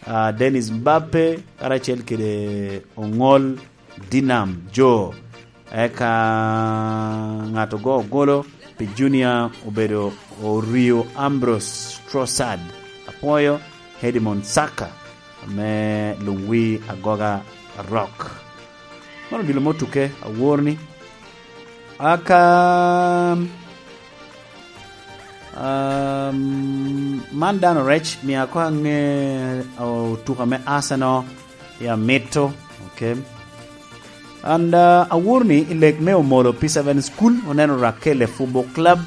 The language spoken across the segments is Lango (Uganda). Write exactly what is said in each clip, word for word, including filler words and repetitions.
Ah, Dennis Mbappe karacel kede Ongol Dinam Jo. Eka ŋat ogo golo pi Junior obedo Orio Ambrose Trossard. Apwoyo Edmond Saka ame luŋ wi agoga Rock. Mano odilo mo tuke awor ni. Aka, um, man dano rec, mia ko aŋe otuka me Arsenal ya mito, okay. And, uh, awor ni i lek me Omolo P seven School, oneno Rakele Football Club,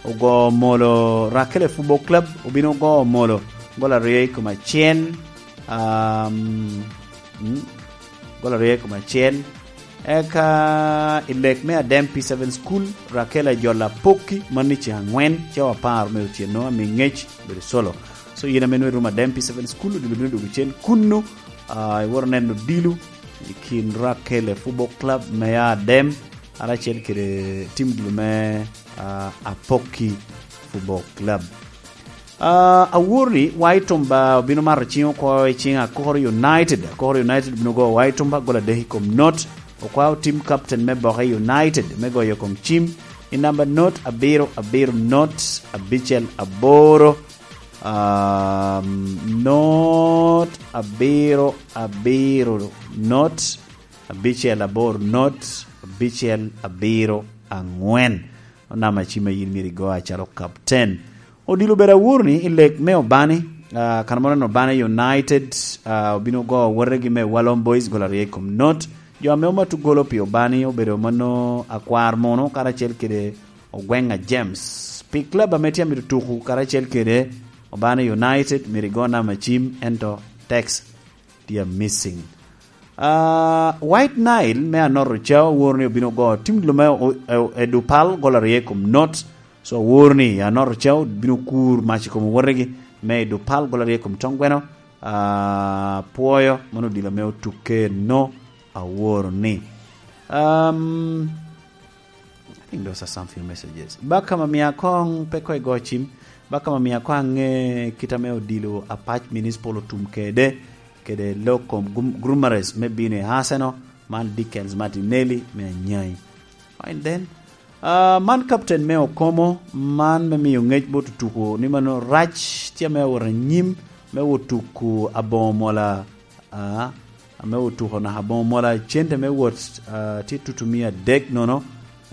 ogo Omolo, Rakele Football Club obino ogo Omolo gol aryo i kom acel, um, mm, gol aryo i kom acel. Eka i lek me Adem P seven School, Rakele Ajola Pokki, man ni ce aŋwen, ce apar me otyeno, ami ŋec, bedo solo. So, yin ame nwe rum Adem P seven School, odilo bino dwogo cen kunnu, ah, iworo neno dilo, i kin Rakele Football Club me Adem, karacel kede tim dilo me, ah, Apokki Football Club. Ah, awor ni Waitumba obino mato cing oko i cing Akoro United. Akoro United obino go Waitumba gol adek i kom not. Okwao tim captain me Boke United me goyo kom cim i namba not abiro abiro not abicel aboro. Um, not abiro abiro not abicel aboro not abicel abiro aŋwen. Onama cim a yin myero igo acalo captain. Odilo bedo awor ni i lek me Obani, ah, kan moro en Obani United, ah, obino go wotegi me Walom Boys gol aryo i kom not. Jo ame omato golo pi Obani obedo mano Akwar Mono karacel kede Ogwenga James. Pi club ame tye amito tuku karacel kede Obani United, myero igo namba cim, ento text tye missing. Ah, White Nile me Anot Ocao awor ni obino go tim dilo me o-, e, e Dupal gol aryo i kom not. So awor ni Anot Ocao bino kur mac i kom wotegi me Dupal gol aryo i kom Tongweno. Ah, pwoyo, mano odilo me otuke no awor ni. Um, I think those are some few messages. Baka ma mia kong pe ko igo cim. Baka ma mia kong ange kita me odilo Apac Municipal otum kede, kede lokom grum-, Grumares me bino i Arsenal, man Dickens Martinelli me Anyai. Fine then. Ah, man captain me Okomo, man me miyo ngec bot otuko ni mano rac tye me awot anyim me otuko aboŋo mola, ah, ame otuko naka aboŋo mola cente me wot, ah, tye tutumia adek nono.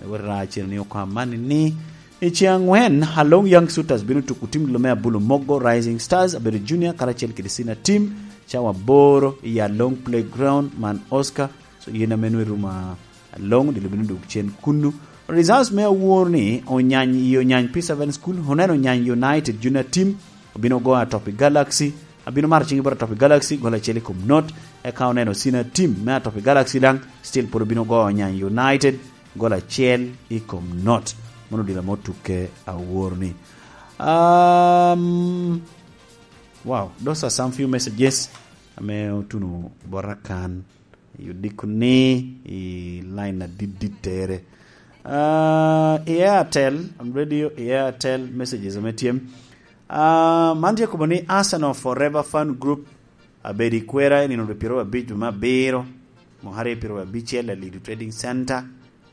Wot ra cen ni oko amani ni i ceng angwen, Along Young Shooters bino tuko tim dilo me Abulu Mogo Rising Stars, abedo junior karacel kede senior team, cawa aboro i Along Playground man Oscar. So, yin ame nwe rumo Along, dilo bino duk cen kunnu. Results me awor ni, Onyany i Onyany P seven School, oneno Onyany United junior team, obino go Atopi Galaxy, abino maro cing bot Atopi Galaxy, gol acel i kom not, eka oneno senior team me Atopi Galaxy daŋ, still pwod obino go Onyany United, gol acel i kom not. Mano odilo ame otukke awor ni. Um, wow, those are some few messages ame otuno bota kan. I odiko ni i line adit dit tere. Ah, i Airtel, I'm radio i Airtel messages ame tye. Ah, man tye kobo ni Arsenal Forever Fan Group abedo i kwera i nino rwe pyeraryo abic dwe me abiro, mwaka aryo pyeraryo abicel, Alidu Trading Center.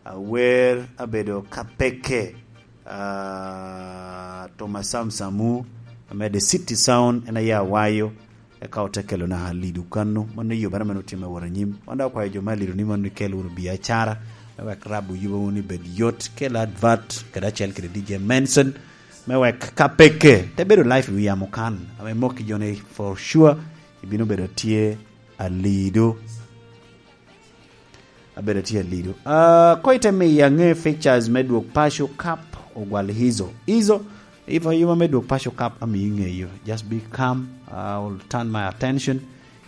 Awer abedo ka peke, ah, Thomas Sam Samu, ame The City Sound, en aye awayo, eka ote kelo naka Alidu kano. Mano yubere meno tye me wot anyim. Wan daŋ okwayo jo me Alidu ni mano ikel wunu biacara, me wek rabo yubo wunu i bed yot, kel advert, kede acel kede D J Manson, me wek ka peke, te bedo live i wi yamo kan, ame mok i joni for sure, ibino bedo tye Alidu. Abedo tye Alidu. Ah, ko ite miyo aŋe fixtures me dwog Paco Cup, ogwal Izo. Izo, if ayuma me dwog Paco Cup, amiyo iŋeyo. Just be calm. I will turn my attention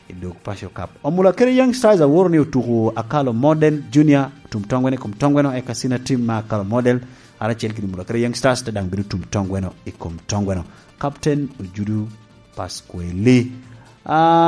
i dwog Paco Cup. Omula kede Young Stars aworo ni otuko Akalo Model Junior, otum tongwene kom tongweno, eka senior team ma Akalo Model, aracel kede Omula kede Young Stars, te daŋ bino tum tongweno i kom tongweno. Captain Ojudu Pasqueli. Ah,